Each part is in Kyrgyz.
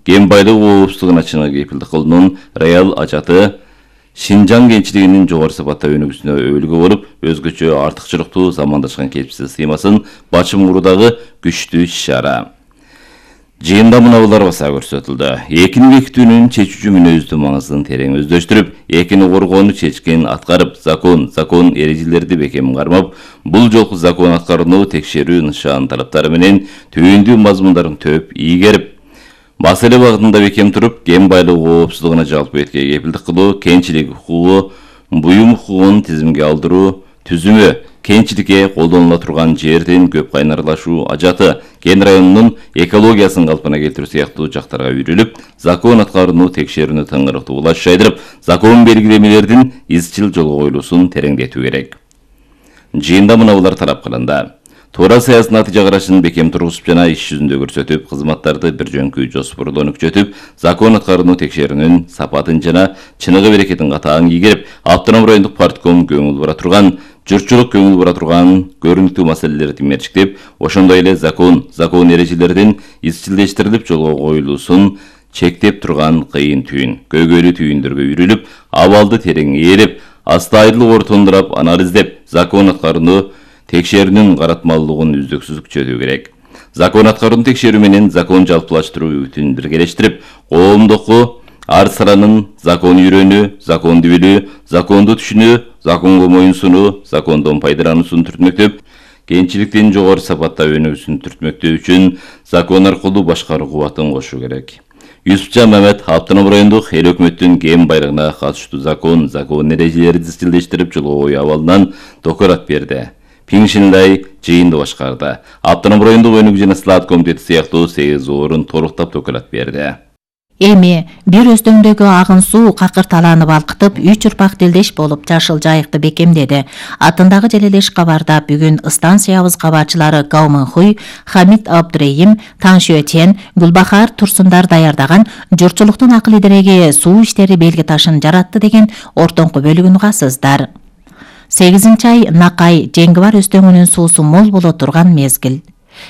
кен байлыгы коопсуздугуна чыныгы кепилдик кылуунун реал ажаты Шинжаң кенчилигинин жогору сапатта өнүгүүсүнө өбөлгө болуп, өзгөчө артыкчылыктуу замандашкан кесипсиз сыймасын бачым куруудагы күчтүү иш-чара. Жыйында муналар баса көрсөтүлдү. Экини бекитүүнүн чечүүчү мүнөздүү маңызын терең өздөштүрүп, экини коргоону чечкен аткарып, закон эрежелерди бекем кармап, бул жолку закон аткарууну текшерүү нышан талаптары менен түйүндүү мазмундарын төп ийгерип, маселе багытында бекем туруп, кен байлыгы коопсуздугуна жалпы этке кепилдик кылуу, кенчилик укугу, буюм укугун тизимге алдыруу түзүмү, кенчиликке колдонула турган жердин көп кайнарлашуу ажаты, кен районунун экологиясын калпына келтирүү сыяктуу жактарга үйрүлүп, закон аткарууну текшерүүнү тыңырыктуу улаш жайдырып, закон белгилемелердин изчил жолго коюлуусун тереңдетүү керек. Жыйында муналар талап кылынды. Туура саясий натыйжа карашын бекем тургузуп жана иш жүзүндө көрсөтүп, кызматтарды бир жөнкү жоспордо өнүкчөтүп, закон аткарууну текшерүүнүн сапатын жана чыныгы берекетин катаң ийгерип, Автоном райондук партком көңүл бура турган, журтчулук көңүл бура турган көрүнүктүү маселелерди мерчиктеп, ошондой эле закон эрежелердин изчилдештирилип жолго коюлуусун чектеп турган кыйын түйүн, көйгөйлүү түйүндөргө үйрүлүп, абалды терең ээлеп, астайдыл ортондурап анализдеп, закон аткарууну текшерүүнүн каратмалуулугун үздүксүз күчөтүү керек. Закон аткарууну текшерүү менен закон жалпылаштыруу бүтүн биргелештирип, коомдогу ар саланын закон үйрөнүү, законду билүү, законду түшүнүү, законго моюнсунуу, закондон пайдалануусун түртмөктөп, кенчиликтин жогору сапатта өнүгүүсүн түртмөктөө үчүн закон аркылуу башкаруу кубатын кошуу керек. Юсупчан Мамет Автоном райондук эл өкмөттүн кен байлыгына катыштуу закон эрежелерди изчилдештирип жолго коюу абалынан доклад берди. Пиңшинлай жыйынды башкарды. Автоном райондук өнүгүү жана слаат комитети сыяктуу 8 орун толуктап доклад берди. Эми бир өздөңдөгү агын суу какыр талааны балкытып, 3 урпак делдеш болуп жашыл жайыкты бекемдеди. Атындагы желелеш кабарда бүгүн станциябыз кабарчылары Гаумынхуй, Хамид Абдурейим, Таңшөтен, Гүлбахар Турсундар даярдаган журтчулуктун акыл идереги суу иштери белги ташын жаратты деген ортоңку бөлүгүн угасыздар. 8-ай Накай Жеңгибар өстөңүнүн суусу мол боло турган мезгил.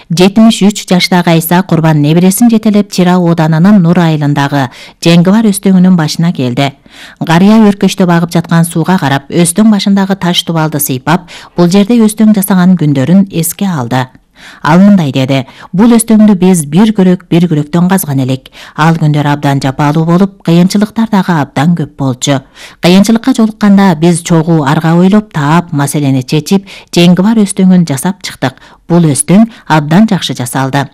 73 жаштагы Айса Курбан небересин жетелеп Чира ооданынын Нур айылындагы Жеңгибар өстөңүнүн башына келди. Гарыя өркөштө багып жаткан сууга карап, өстөң башындагы таш тубалды сыйпап, бул жерде өстөң жасаган күндөрүн эске алды. Ал мындай деди: бул өстөңдү биз бир күрөктөн казган элек. Ал күндөр абдан жапалуу болуп, кыйынчылыктар дагы абдан көп болчу. Кыйынчылыкка жолукканда биз чогуу арга ойлоп таап, маселени чечип, Жеңгибар өстөңүн жасап чыктык. Бул өстөң абдан жакшы жасалды.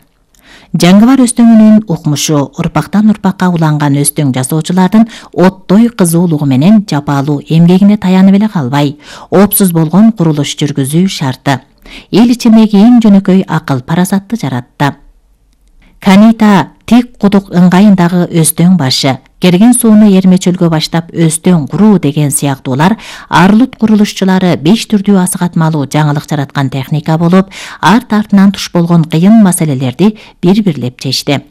Жеңгибар өстөңүнүн укмушу, урпактан урпакка уланган өстөң жасоочулардын оттой кызуулугу менен жапалуу эмгегине таянып эле калбай, оопсуз болгон курулуш жүргүзүү шарты. Эл ичиндеги эң жөнөкөй акыл парасатты жаратты. Канита тик кудук ыңгайындагы өстөң башы, керген сууну эрмечөлгө баштап өстөң куруу деген сыяктуулар Арлут курулушчулары 5 түрдүү асыгатмалуу жаңылык жараткан техника болуп, артынан туш болгон кыйын маселелерди бир-бирлеп чечти.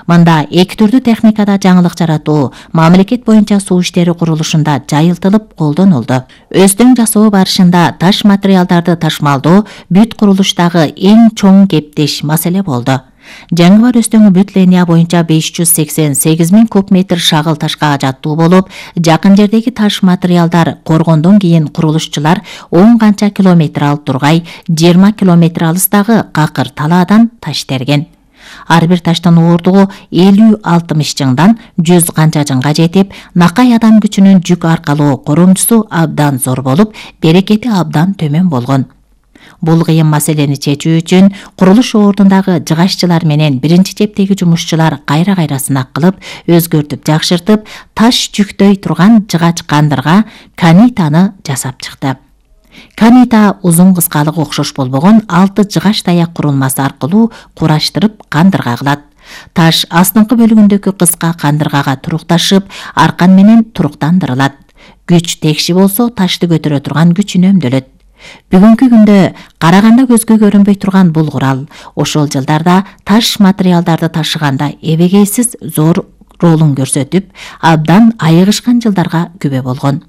Мында 2 түрдүү техникада жаңылык жаратуу мамлекет боюнча суу иштери курулушунда жайылтылып колдонулду. Өстөң жасоо барышында таш материалдарды ташмалдоо бүт курулуштагы эң чоң кептеш маселе болду. Жеңгибар өстөңү бүт линия боюнча 588 000 куб метр шагыл ташка жаттуу болуп, жакын жердеги таш материалдар коргондон кийин курулушчулар 10 канча километр алып тургай, 20 километр алыстагы какыр талаадан таш терген. Ар бир таштын оордугу 50-60 жыңдан 100 канча жыңга жетип, Накай адам күчүнүн жүк аркалоо коромчусу абдан зор болуп, берекети абдан төмөн болгон. Бул кыйын маселени чечүү үчүн курулуш ордундагы жыгаччылар менен биринчи чептеги жумушчулар кайра сынак кылып, өзгөртүп жакшыртып, таш жүктөй турган жыгач кандырга канитаны жасап чыкты. Канита узун кыскалыгы окшош болбогон 6 жыгач таяк курулмасы аркылуу кураштырып кандырга кылат. Таш астыңкы бөлүгүндөгү кыска кандыргага турукташып, аркан менен туруктандырылат. Күч текши болсо, ташты көтөрө турган күч үнөмдөлөт. Бүгүнкү күндө караганда көзгө көрүнбөй турган бул курал ошол жылдарда таш материалдарды ташыганда эбегейсиз зор ролун көрсөтүп, абдан айыгышкан жылдарга күбө болгон.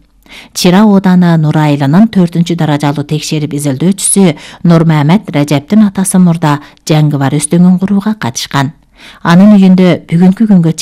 Чира ооданы Нур айылынын 4-чү даражалуу текшерип изилдөөчүсү Нурмамет Режептин атасы мурда Жеңгибар өстөңүн курууга катышкан. Анын үйүндө бүгүнкү күнгө